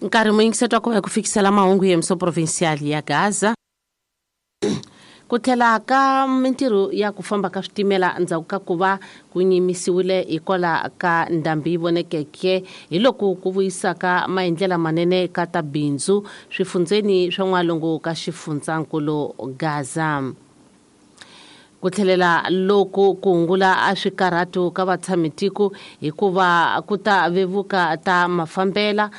Nkarhi muyingiseti wa ku va hi ku fikisela mahungu ya miso provincial ya Gaza. Ku tlhela ka mintirho ya ku famba ka switimela endzhaku ka ku va ku nyimisiwile hikwalaho ka ndhambi yi vonekeke hi loko ku vuyisaka maendlela manene ka ta bindzu swifundzeni swa n'walungu ka xifundzankulu Gaza. Ku tlhelela loku ku hungula a swikarhatu ka vatshamitiko hikuva ku ta vevuka ta mafambela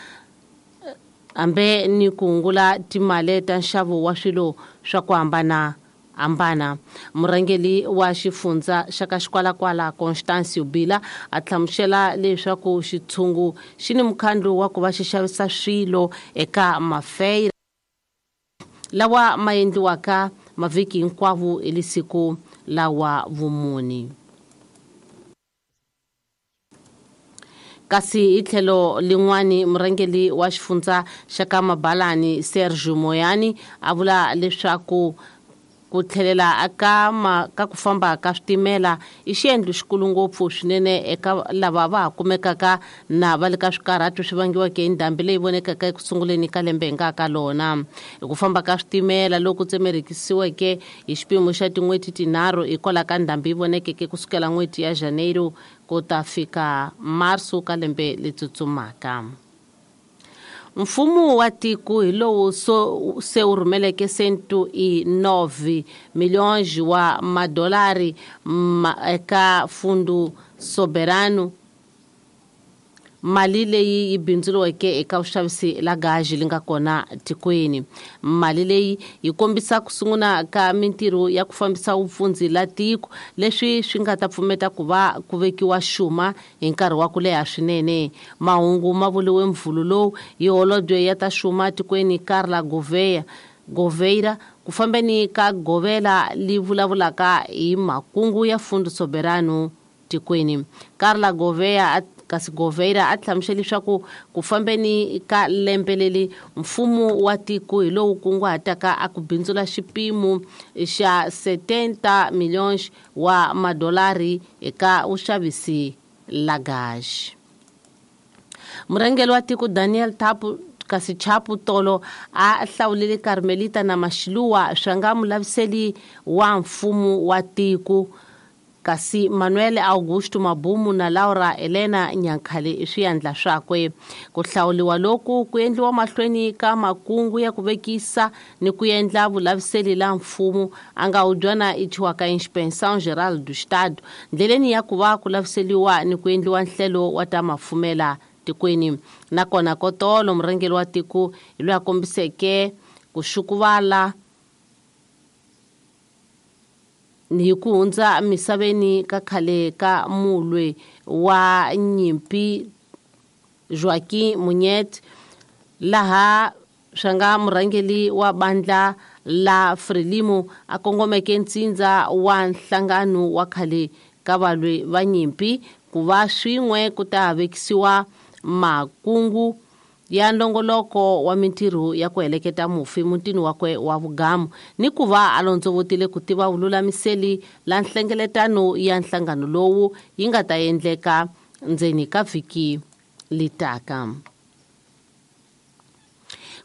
hambe ni ku hungula timali ta nxavo wa swilo swa ku hambana hambana. Murhangeri wa xifundza xa ka Xikwalakwala Constancio Bila a hlamusela leswaku xitshungu xi ni mukhandlu wa ku va xi xavisa swilo eka mafeira lawa ma endliwaka mavhiki hinkwawo hi lisiku lawa vumuni. Kasi hi tlhelo lin'wani murhangeri wa xifundza xa ka Mabalani Sergio Moyani a vula leswaku ku tlhelela ka ka ku famba ka switimela i xiendlo xikulu ngopfu swinene eka lava va ha kumekaka na va le ka swikarhatu swi vangiweke hi ndhambi leyi vonekaka eku sunguleni ka lembe hi nga ka lona. Hi ku famba ka switimela loku tsemerekisiweke hi xipimo xa tin'hweti tinharhu hikwalaho ka ndhambi yi vonekeke kusukela n'hweti ya Janeiro ku ta fika marso ka lembe leri tsutsumaka. Mfumo wa tiko hi lowu se wu rhumeleke 109 milhões wa madolari eka Fundo Soberano, mali leyi yi bindzuriweke eka vuxavisi la gaji li nga kona tikweni. Mali leyi yi kombisa ku sungula ka mintirho ya ku fambisa vupfundzi la tiko, leswi swi nga ta pfumeta ku va ku vekiwa xuma hi nkarhi wa ku leha swinene. Mahungu ma vuriwe mvhulu lowu hi holobye ya ta xuma tikweni Carla Goveira ku fambeni ka govela li vulavulaka hi makungu ya Fundo Soberano tikweni. Carla Goveia kasi Goveira a hlamusela leswaku ku fambeni ka lembe leri mfumo wa tiko hi lowu kunguhataka a ku bindzula xipimo xa 70 milhões wa madolari eka vuxavisi la gaji. Murhangeri wa tiko Daniel Thapo kasi Chapo Tolo a hlawulile Carmelita na Mashiluwa swa nga mulaviseli wa mfumo wa tiko, kasi Manuel Augusto Mabumu na Laura Elena Nyankhale i swiyandla swakwe. Ku hlawuliwa loku ku endliwa mahlweni ka makungu ya ku vekisa ni ku endla vulaviseli la mfumo a nga hubyana i thyiwaka Inspeção Geral do Estado ndleleni ya ku va ku laviseliwa ni ku endliwa nhlelo wa ta mafumela tikweni. Nakona kotolo murhangeri wa tiko hi loyi a kombiseke ku xukuvala hi ku hundza misaveni ka khale ka mulwe wa nyimpi Joaquim Munyet, laha swa nga murhangeri wa bandla la Frelimo a kongomeke ntsindza wa nhlangano wa khale ka valwi va nyimpi ku va swin'we ku ta vekisiwa makungu ya ndongoloko wa mintirho ya ku heleketa mufi mutini wakwe wa vugamu ni ku va a londzovotile ku tiva vululamiseli la nhlengeletano ya nhlangano lowu yi nga ta endleka ndzeni ka vhiki litaka.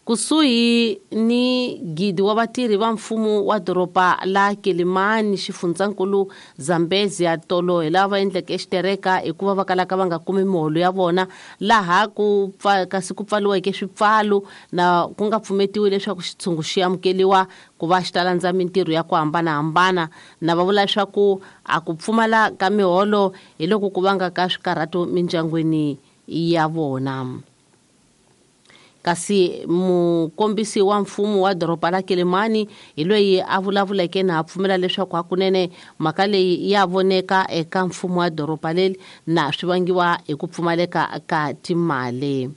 Kusuhi ni gidi wa vatirhi va mfumo wa doroba la Quelimane xifundzankulu Zambezia tolo hi lava va endleke xitereka hikuva va kalaka va nga kumi miholo ya vona, laha ku kasi ku pfaliweke swipfalo na ku nga pfumetiwi leswaku xitshungu xi amukeliwa ku va xi ta landza mintirho ya ku hambanahambana. Na va vula leswaku a ku pfumala ka miholo hi loko ku vanga ka swikarhato mindyangwini ya vona. Kasi mukombisi wa mfumo wa doroba la Quelimane hi loyi a vulavuleke na a pfumela leswaku hakunene mhaka leyi ya voneka eka mfumo wa doroba leri na swi vangiwa hi ku pfumaleka ka timali.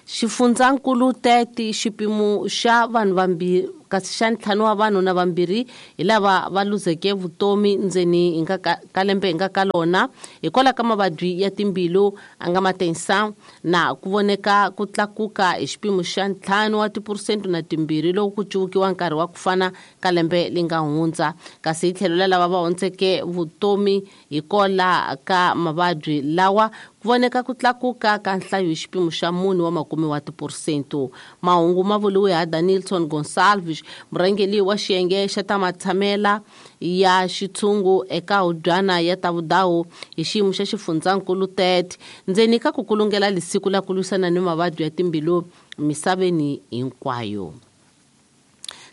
Xifundzankulu 30 xipimo xa vanhu vambirhi kasi xa ntlhanu wa vanhu na vambirhi hi lava va luzeke vutomi ndzeni hi nga ka lembe hi nga ka lona hikwalaho ka mavabyi ya timbilu a nga matensa na ku voneka ku tlakuka hi xipimo xa 5 wa tiphurusente na timbirhi loko ku cuvukiwa nkarhi wa ku fana ka lembe li nga hundza. Kasi hi tlhelo la lava va hundzeke vutomi hikwalaho ka mavabyi lawa ku Ku voneka ku tlakuka ka nhlayo hi xipimo xa 4 wa makume wa tiporsento. Mahungu ma vuriwe ha Danilson Gonçalves, murhangeri wa xiyenge xa ta matshamela ya xitshungu eka hubyana ya ta vudawu hi xiyimo xa xifundzankulu 30 ndzeni ka ku kulungela lisiku la ku lwisana ni mavabyi ya timbilu misaveni hinkwayo.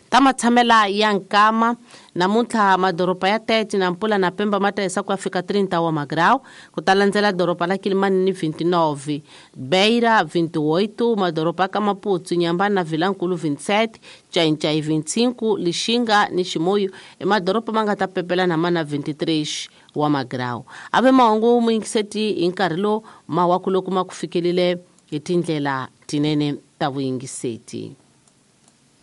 Ta matshamela ya nkama namuntlha madoroba ya Tete na Mpula na Pemba ma ta hisa ku ya fika 30 wa magrau, ku ta landzela doroba la Kilimani ni 29, Beira 28, madoroba ka Maputo, Nyambana na Vilankulu 27, Chainchai 25, Lixinga ni Chimoio i madoroba ma nga ta pepela na mana 23 wa magrau. Ave mahungu muyingiseti hi nkarhi lowu mawaku loko ma ku fikelile hi tindlela tinene ta vuyingiseti.